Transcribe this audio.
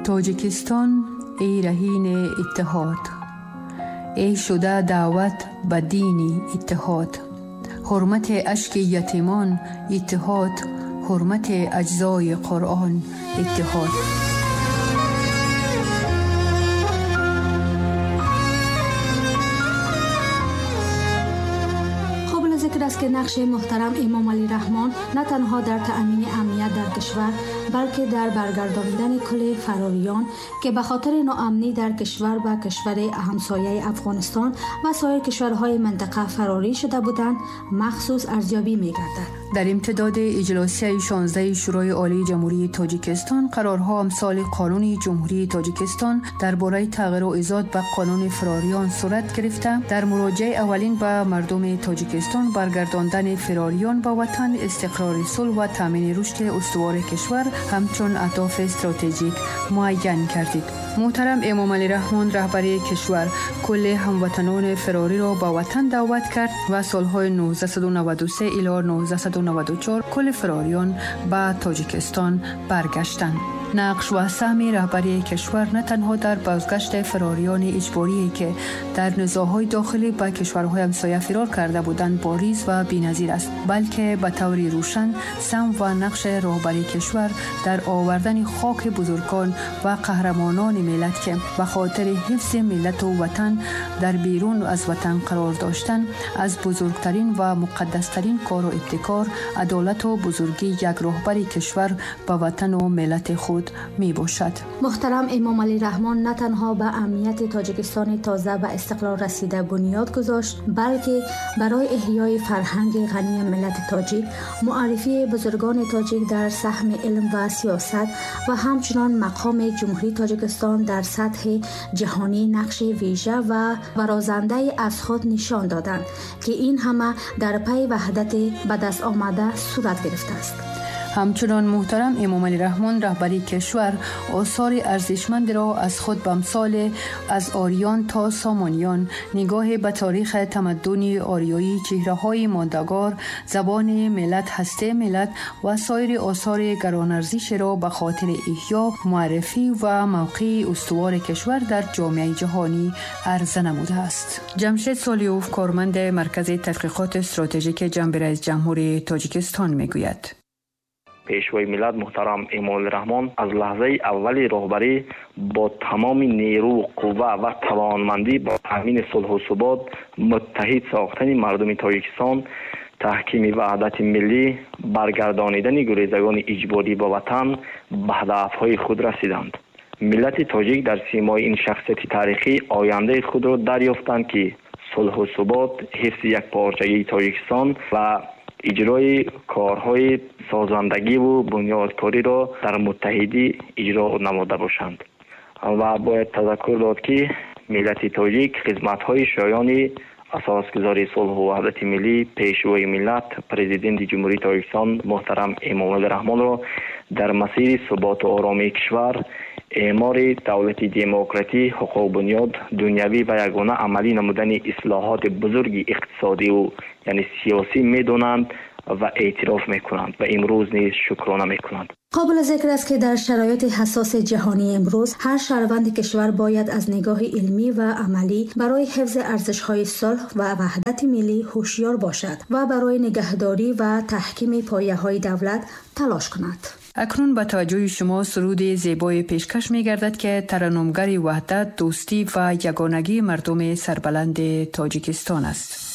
Тоҷикистон, эй раҳини иттиҳод, эй шуда даъват ба дини иттиҳод, ҳурмати ашки ятимон иттиҳод, ҳурмати аҷзои Қуръон иттиҳод. Зикр аст, ки нақши муҳтарам Эмомалӣ Раҳмон на танҳо дар таъмини амният дар кишвар, балки дар баргардонидани кулли фарориён, ки ба хотири ноамнӣ дар кишвар ба кишвари ҳамсояи Афғонистон ва соир кишварҳои минтақа фарорӣ шуда буданд, махсус арзёбӣ мегардад. Дар имтидоди иҷлосияи 16 Шӯрои Олии Ҷумҳурии Тоҷикистон қарорҳо амсоли Қонуни Ҷумҳурии Тоҷикистон дар бораи тағйиру изод ба Қонуни фирориён сурат гирифта, дар муроҷиаи аввалин ба мардуми Тоҷикистон баргардондани фирориён ба ватан, истиқрори сулҳ ва таъмини рушди устувори кишвар ҳамчун аҳдофи стратегик муайян кардид. Муҳтарам Эмомалӣ Раҳмон, раҳбари кишвар, кулли ҳамватанони фирориро ба ватан даъват кард ва солҳои 1993 ило 1994 кулли фирориён ба Тоҷикистон баргаштанд. Нақш ва саҳми раҳбарии кишвар на танҳо дар бозгашти фирориёни иҷборие, ки дар низоъҳои дохилӣ ба кишварҳои ҳамсоя фирор карда буданд, бориз ва беназир аст, балки ба таври рӯшан саҳм ва нақши роҳбарии кишвар дар овардани хоки бузургон ва қаҳрамонони миллат, ки ба хотири ҳифзи миллату ватан дар берун аз ватан қарор доштанд, аз бузургтарин ва муқаддастарин кору ибтикор, адолату бузургии як роҳбари кишвар ба ватану миллати худ мебошад. Муҳтарам Эмомалӣ Раҳмон на танҳо ба амнияти Тоҷикистони тоза ба истиқлол расида бунёд гузошт, балки барои эҳёи фарҳанги ғании миллати тоҷик, муаррифии бузургони тоҷик дар саҳми илм ва сиёсат ва ҳамчунон мақоми Ҷумҳурии Тоҷикистон дар сатҳи ҷаҳонӣ нақши вижа ва барозандае аз худ нишон доданд, ки ин ҳама дар пайи ваҳдати ба даст омада сурат гирифтааст. Ҳамчунон муҳтарам Эмомалӣ Раҳмон, раҳбари кишвар, осори арзишмандеро аз худ ба мисоли аз ориён то сомониён, нигоҳе ба таърихи тамаддуни ориёӣ, чеҳраҳои мондагор, забони миллат, ҳастаи миллат ва соири осори гаронарзишеро ба хотири эҳё, муаррифӣ ва мавқеи устувори кишвар дар ҷомеаи ҷаҳонӣ арза намудааст. Ҷамшед Солиёв, корманди Маркази тадқиқоти стратегики ҷанби раисҷумҳури Тоҷикистон, мегӯяд: Пешвои миллат муҳтарам Эмомалӣ Раҳмон аз лаҳзаи аввали роҳбарӣ бо тамоми нерӯ, қувва ва тавонмандӣ ба таъмини сулҳу субот, муттаҳид сохтани мардуми Тоҷикистон, таҳкими ваҳдати миллӣ, баргардонидани гурезагони иҷборӣ ба ватан ба ҳадафҳои худ расиданд. Миллати тоҷик дар симои ин шахсияти таърихӣ ояндаи худро дарёфтанд, ки сулҳу субот, ҳифзи якпорчагии Тоҷикистон ва иҷрои корҳои созандагиву бунёдкориро дар муттаҳидӣ иҷро намуда бошанд. Ва бояд тазаккур дод, ки миллати тоҷик хизматҳои шоёни асосгузори сулҳу ваҳдати миллӣ, пешвои миллат, Президенти Ҷумҳурии Тоҷикистон муҳтарам Эмомалӣ Раҳмонро дар масири суботу оромии кишвар, эъмори давлати демократӣ, ҳуқуқбунёд, дунявӣ ва ягона амалӣ намудани ислоҳоти бузурги иқтисодиву яъне сиёсӣ медонанд ва эътироф мекунанд ва имрӯз низ шукрона мекунанд. Қобили зикр аст, ки дар шароити ҳассоси ҷаҳонии имрӯз ҳар шаҳрванди кишвар бояд аз нигоҳи илмӣ ва амалӣ барои ҳифзи арзишҳои сулҳ ва ваҳдати миллӣ ҳушёр бошад ва барои нигаҳдорӣ ва таҳкими пояҳои давлат талош кунад. Акнун ба таваҷҷӯҳи шумо суруди зебое пешкаш мегардад, ки тараннумгари ваҳдат, дӯстӣ ва ягонагии мардуми сарбаланди Тоҷикистон аст.